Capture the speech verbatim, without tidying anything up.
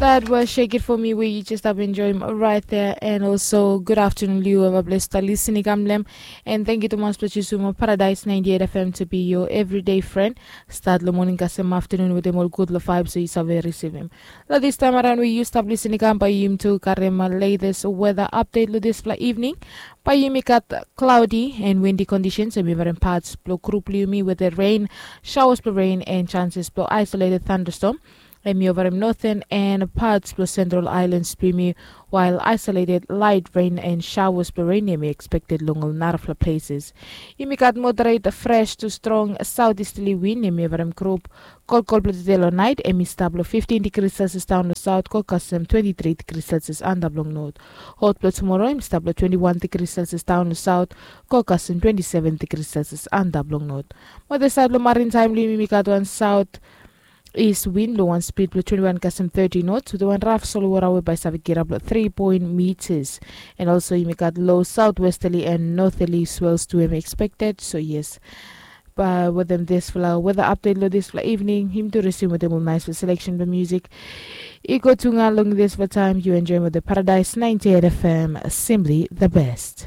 That was Shake It For Me, where you just have enjoyed right there. And also, good afternoon, Liu. Have a blessed listening, Gamlem. And thank you, Thomas, for choosing Paradise ninety-eight F M to be your everyday friend. Start the morning kasem afternoon with them all good la five, so you save receive him. Now, this time around, we you stop listening, come by him to Karem latest weather update lo this fla evening. By him, got cloudy and windy conditions, and we were in parts blow group Liumi with the rain, showers blow rain, and chances blow isolated thunderstorm. Hemi over him northern and parts of Central Islands Plumi, while isolated light rain and showers of rain may be expected along a lot of places. Yumi got moderate fresh to strong southeasterly wind, hemi over him group. Cold cold blow today lo night, hemi stable fifteen degrees Celsius down lo south, cold custom twenty-three degrees Celsius and up long north. Hot blow tomorrow, hemi stable twenty-one degrees Celsius down lo south, cold custom twenty-seven degrees Celsius and up long north. Mother side lo maritime, Liumi got one south east wind lo one speed blow twenty-one custom thirty knots with one rough solo water away by Savigirab blow three point meters. And also, you got low southwesterly and northerly swells to him expected. So, yes. But with them this fla weather update lo this fla evening, him to resume with them all nice for selection for music. Iko tunga long this for time you enjoy with the Paradise ninety-eight F M, simply the best.